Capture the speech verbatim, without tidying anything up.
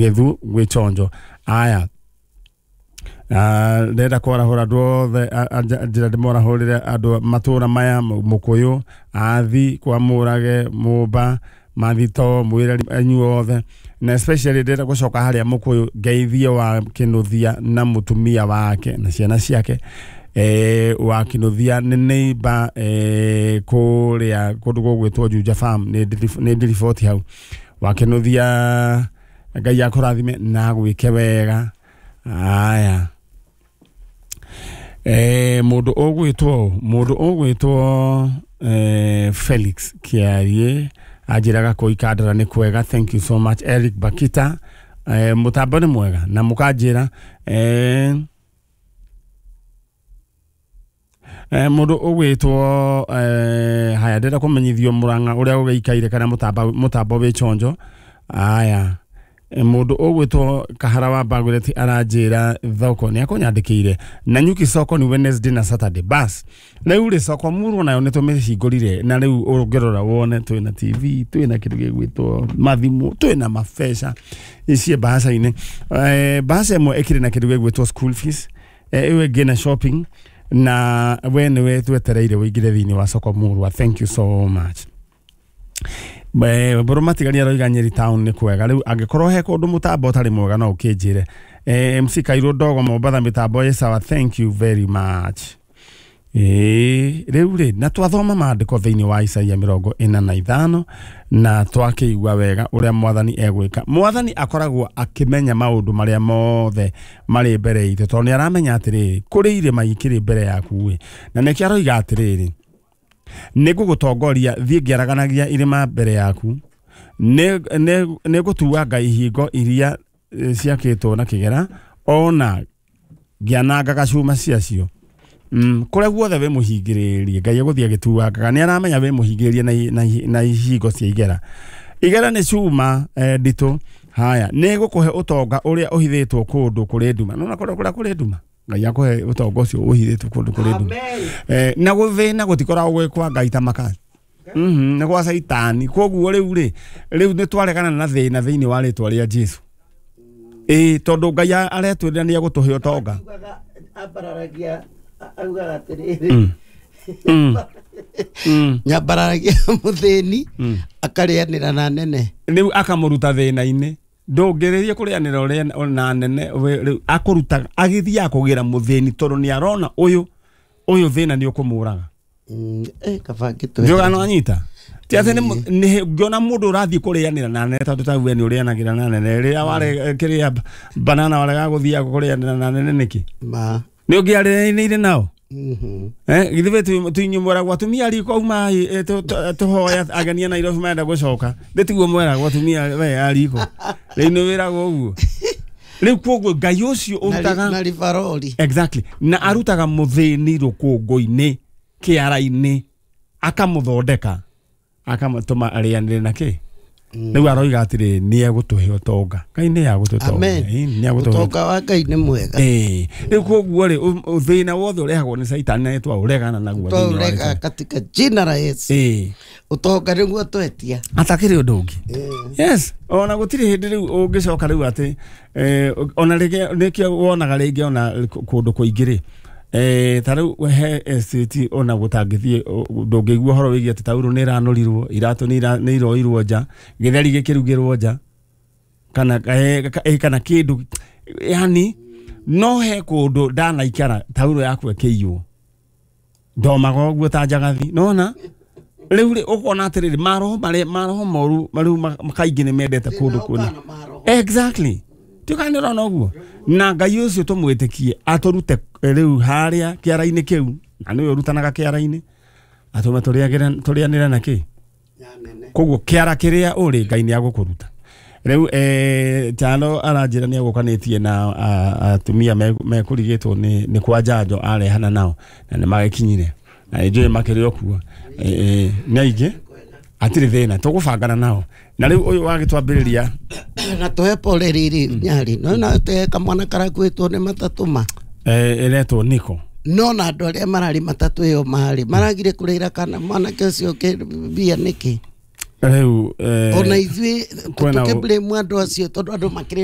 Githu gwĩ chonjo. Aya, ndĩrenda kwarahũra andũ othe, njĩra ndĩmorahũrĩre andũ matũra maya: Mũkũyũ, Athi, kwa Mũrage, Mũmba, Mathito, mwĩre inyuĩ othe, na especially ndĩrenda gũcoka harĩa Mũkũyũ ngeithie wa Kĩnũthia na mũtumia wake na ciana ciake. eh, wa Kĩnũthia nĩ neighbor eh, kũrĩa kũndũ gũgwĩtwo Juja Farm, nĩ ndĩriboti hau. Wa Kĩnũthia, Ngai akũrathime na gwĩke wega. Aya, eh, mũndũ ũgwĩtwo mũndũ ũgwĩtwo eh, Felix Kiarie anjĩraga kũu Ikandara nĩ kwega. Thank you so much. Eric Bakita, eh, mũtambo nĩ mwega na mũkanjĩra. eh, eh, mũndũ ũgwĩtwo eh, haya, ndĩrenda kũmenyithio Mũrang'a ũrĩa ũgĩikaire kana mũtambo mũtambo wĩ chonjo. Aya, mũndũ ũgwĩtwo Kahara wa Bagureti aranjĩra thoko nĩ akũnyandĩkĩire na nyuki soko ni Wednesday na Saturday. Bas, rĩu rĩ, soko murwo nayo nĩ tũmĩhingũrire, na rĩu ũngĩrora wone twĩna T V, twĩna kĩndũ gĩgwĩtwo mathimũ, twĩna mabeca icie mbahaca-inĩ. eh, mbahaca ĩmwe ĩkĩrĩ na kĩndũ gĩgwĩtwo school fees, ĩyo ĩngĩ na shopping, na we nĩwe twetereire ũingĩre thĩinĩ wa soko murwa. Thank you so much. Mbũrũ matigari aroiga Nyeri town nĩ kwega. Rĩu angĩkorwo he kũndũ mũtambo ũtarĩ mwega, no ũkĩnjĩre. eh, M C Kairũ Ndogo Mombatha, mĩtambo ĩ sawa, thank you very much. Ĩĩ, rĩu rĩ, na twathoma maandĩko thĩinĩ wa Isaia mĩrongo ĩna na ithano, na twakĩigua wega ũrĩa mwathani egwĩka. Mwathani akoragwo akĩmenya maũndũ marĩa mothe marĩ mbere itũ, tondũ nĩ aramenya atĩrĩrĩ, kũrĩ irĩma ikĩrĩ mbere yaku ĩ, na nĩkĩo aroiga atĩrĩrĩ, nĩ ngũgũtongoria thiĩ ngĩaraganagia irĩma mbere yaku, nĩ ngũtuanga ihingo iria ciakĩtwo na kĩgera, ona ngĩanangaga cuma ciacio. Mm, kũrĩa guothe wĩ mũhingĩrĩrie, Ngai egũthiĩ agĩtuangaga. Nĩ aramenya wĩ mũhingĩrĩrie na, na, na ihingo cia igera. Igera nĩ cuma eh, nditũ. Haya, nĩ gũkũhe ũtonga ũrĩa ũhithĩtwo kũndũ kũrĩ nduma. Nona kũrĩa kũrĩa kũrĩ nduma, Ngai akũhe ũtonga ũcio ũhithĩtwo kũndũ kũrĩ nduma. Eh, na gũthĩna gũtikoragwo gwĩ kwa Ngai ta maka, mm nĩ gwa Caitani. Koguo rĩu rĩ, rĩu nĩ twaregana na thĩna thĩinĩ wa rĩtwa rĩa Jesu, ĩĩ, tondũ Ngai aretwĩrĩra nĩ egũtũhe ũtonga. Ambararagia, augaga atĩrĩrĩ, Mm. Mm. nyambararagia mũthĩni akarĩanĩra na nene. Rĩu akamũruta thĩna-inĩ. Ndũngĩrĩrie kũrĩanĩra ũrĩa na nene, rĩu akũruta agĩthiaga kũgĩra mũthĩni, tondũ nĩ arona ũyũ ũyũ thĩna nĩ ũkũmũraga. Mm, eh, kaba ngĩtwe. Ndiũga no anyita ti atĩ nĩ ngĩona mũndũ ũrathiĩ kũrĩanĩra na nene, tondũ ta we nĩ ũrĩanagĩra na nene, rĩrĩa ware kĩrĩa banana warega gũthiaga kũrĩanĩra na nene nĩkĩ? Ma. Nĩ ũngĩarĩanĩire nao? Mhm. Eh, githĩ tuinyuĩ mweragwo atumia riko uma tũhoya ageni a Nairobi marenda gũcoka, thĩ tiguo mweragwo atumia we a riko? Rĩu nĩ wĩragwo ũguo. Rĩu koguo Ngai ũcio ũrutaga na ribarori. Exactly, na arutaga mũthĩni rũkũngũ-inĩ, kĩara-inĩ, akamũthondeka, akamũtũma arĩanĩre na kĩ. Rĩu aroiga atĩrĩ, nĩ egũtũhe ũtonga. Ngai nĩ agũtũtonga. Amen. Nĩ agũtũhe. Ũtonga wa Ngai nĩ mwega. Ĩĩ, rĩu koguo rĩ, thĩna wothe ũrehagwo nĩ Caitani na twaũregana naguo thĩinĩ wa Twaurega rĩtwa. katika jina la Yesu. Ĩĩ. Ũtonga nĩguo twetia. Atakĩrĩ ũndũ ũngĩ. Yes, ona gũtirĩ hĩndĩ rĩu ũngĩcoka rĩu atĩ eh, ona rĩngĩ nĩkĩo wonaga rĩngĩ ona kũndũ kũingĩ rĩ, eh, ta rĩu he estate ona gũtangĩthiĩ, ndũngĩigua ũhoro wĩgiĩ atĩ taurũ nĩ ĩranũrirwo, iratũ nĩ ira- nĩ iroirwo nja, gĩtheri gĩkĩrugĩrwo nja, kana eh, ka- eh, kana kĩndũ yani. No he kũndũ ndanaikara taurũ yaku ĩkĩiywo, ndomaga ũguo ta njagathi. Nona rĩu rĩ, ũkona atĩrĩrĩ, maroho marĩa maroho moru rĩu ma- kaingĩ nĩ mendete kũndũ kũna. Exactly, tiũka nĩ ũrona ũguo, na Ngai ũcio tũmwĩtĩkie atũrute rĩu harĩa kĩara-inĩ kĩu, na nĩwe ũrutanaga kĩara-inĩ, atũme tũrĩagĩre- tũrĩanĩre na kĩ. Koguo kĩara kĩrĩa ũrĩ, Ngai nĩ agũkũruta. Rĩu eh, Tano aranjĩra nĩ agũkanĩtie na a- atumia me- mekũrigĩtwo nĩ nĩ kwa njanjo arehana nao, na nĩ magĩkinyire, na nĩ njũĩ makĩrĩ o kuo. Eh, eh, nĩ aingĩ, hatirĩ thĩna, tũgũbangana nao. Na rĩu ũyũ wagĩtwambĩrĩria. Na tũhe pole rĩrĩ nyarĩ no na tũhe kamwana karakuĩtwo nĩ matatũ ma. eh, ĩretwo Niko. No na andũ arĩa mararĩ matatũ ĩyo marĩ maragire kũrĩra kana mwanake ũcio mbia nĩkĩ? Rĩu eh, Ona ithuĩ kwĩna- tũkĩblame andũ acio, tondũ andũ makĩrĩ